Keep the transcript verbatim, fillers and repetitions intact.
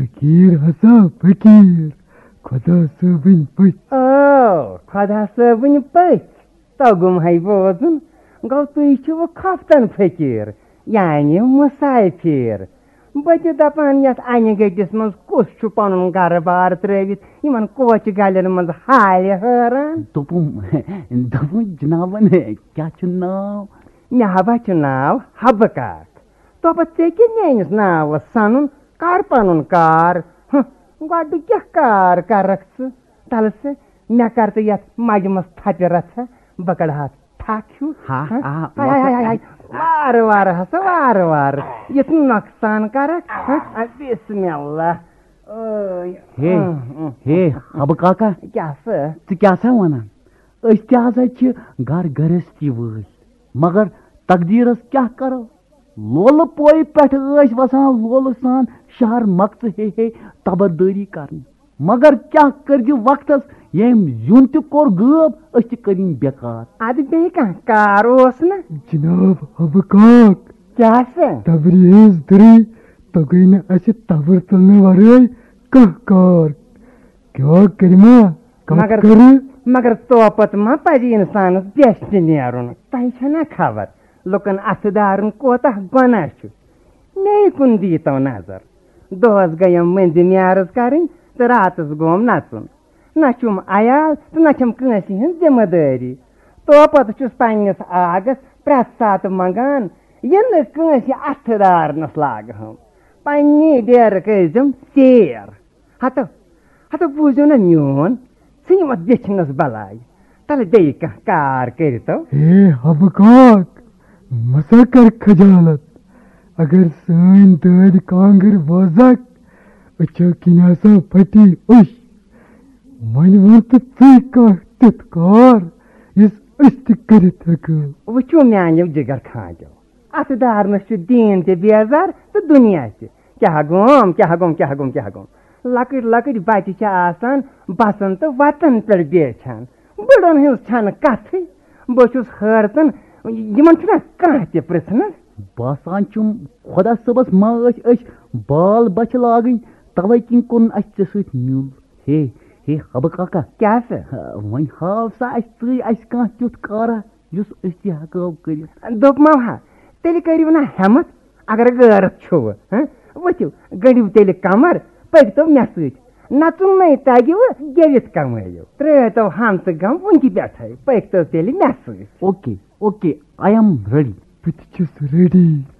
فقیٖر ہسا فقیٖر، خۄدا صٲبٕنۍ پٔژھۍ۔ او، خۄدا صٲبٕنۍ پٔژھۍ، توٚگُم ہے بوزُن۔ گوٚو تُہۍ چھِوٕ خۄفتن فقیٖر، یعنی مُسافِر۔ بہٕ تہِ دَپان، یَتھ اَنہِ گٔٹِس منٛز کُس چھُ پَنُن گَرٕ بار ترٛٲوِتھ یِمَن کوچہِ گَلٮ۪ن منٛز حالہِ حٲران؟ دوٚپُم، دوٚپُم، جِنابَن کیٛاہ چھُ ناو؟ مےٚ ہا چھُ ناو حبہٕ کاک۔ توپہٕ ژےٚ کیٛاہ میٛٲنِس ناوَس سَنُن؟ کَر پَنُن کار۔ ہہ، گۄڈٕ کیٛاہ کار کَرَکھ ژٕ؟ تَلہٕ سا، مےٚ کر تہٕ یتھ مجہِ منٛز تھپہِ رژھا، بہٕ کڑٕ ہا تھکھ ہیوٗ۔ ہا، ہا؟ آ، ہاے، ہاے، ہاے، ہاے، ہاے۔ وارٕ وارٕ ہسا، وارٕ وارٕ۔ یُتھ نۄقصان کرکھ۔ ہا؟ آ، بسم اللہ۔ ٲے۔ ہے، اۭں، اۭں۔ ہے، حبہٕ کاکا، کیٛاہ سا؟ ژٕ کیٛاہ سا ونان؟ أسۍ تہِ ہسا چھِ گھر گھرستی وٲلۍ، مگر تقدیرس کیٛاہ کرو؟ لولہٕ پورِ پٮ۪ٹھٕ ٲسۍ وسان لولہٕ سان شہر مکژٕ ہے ہے تبردٲری کرنہِ۔ مگر کیٛاہ کٔرۍزِ وقتس، ییٚمۍ زیُن تہِ کوٚر غٲب، أسۍ تہِ کٔرِن بیکار۔ ادٕ بیٚیہِ کانٛہہ کار اوس نہ؟ جناب حبہٕ کاک، کیٛاہ سا؟ تبرِ ہٕنٛز دٔری، تۄہہِ گٔے نہٕ اسہِ تبٕر تُلنہٕ ورٲے کانٛہہ کار۔ کیٛاہ کٔرِما؟ کتھ مگر، کرٕ؟ مگر توپت ما پزِ انسانس بیچھِ نیرُن؟ تۄہہِ چھےٚ نا خبر، لُکن اتھٕ دارُن کوتاہ گۄناہ چھُ؟ مے کُن دیٖتو نظر۔ دۄہس گٔیم مٔنزِ میارٕژ کرٕنۍ تہٕ راتس گوم نژُن۔ نہ چھُم عیال تہٕ نہ چھم کٲنٛسہِ ہٕنٛز ذمہٕ دٲری۔ توپتہٕ چھُس پننِس آگس پرٛٮ۪تھ ساتہٕ منٛگان، یہِ نہٕ کٲنٛسہِ اتھٕ دارنس لاگہٕ ہم۔ پننی ڈیرٕ کٔرۍزٮ۪م ژیر۔ ہتو، ہتو بوٗزِو نا میون، ژھٕنِو اتھ بیچھنس بلاے۔ تلہٕ بیٚیہِ کانٛہہ کار کٔرِتو۔ ہے حبہٕ کاک، مہ سا کر خجالت۔ اگر سٲنۍ دٲدۍ کانٛگٕر بوزکھ، أچھو کِنۍ ہسا پھٹی أچھ۔ وۄنۍ وَن تہٕ ژٕے کانٛہہ تیُتھ کار، یُس أسۍ تہِ کٔرِتھ ہٮ۪کو۔ وٕچھِو میٛانیو جِگر کھانٛجو، اَتھٕ دارنَس چھُ دیٖن تہِ بیزار تہٕ دُنیا تہِ۔ کیٛاہ گوم، کیٛاہ گوم، کیٛاہ گوم، کیٛاہ گوم؟ لۄکٕٹۍ لۄکٕٹۍ بَچہِ چھِ آسان بَسَن تہٕ وَتَن پٮ۪ٹھ بیچھان۔ بٕڑَن ہٕنٛز چھَنہٕ کَتھٕے۔ بہٕ چھُس حٲرتَن، یِمَن چھُنہ کانٛہہ تہِ پِرٛژھنَس؟ باسان چھُم خۄدا صٲبَس ما ٲسۍ أسۍ بال بَچھِ لاگٕنۍ، تَوَے کِنۍ کوٚرُن اَسہِ ژےٚ سۭتۍ میُل۔ ہے، ہے، حبہٕ کاکا۔ کیٛاہ سا؟ وۄنۍ ہاو سا اَسہِ ژٕے اَسہِ کانٛہہ تیُتھ کارا یُس أسۍ تہِ ہٮ۪کو کٔرِتھ۔ دوٚپمو ہا، تیٚلہِ کٔرِو نا ہٮ۪متھ، اگر غٲرت چھُوٕ، ہہ؟ ؤتھِو، گٔنٛڈِو تیٚلہِ کمر، پٔکۍتو مےٚ سۭتۍ۔ نژُن نے تگِوٕ، گٮ۪وِتھ کمٲیِو۔ ترٛٲوۍتو ہمسہٕ غم وٕنہِ پٮ۪ٹھَے، پٔکۍتو تیٚلہِ مےٚ سۭتۍ۔ Okay, okay, I am ready. بہٕ تہِ چھُس ready۔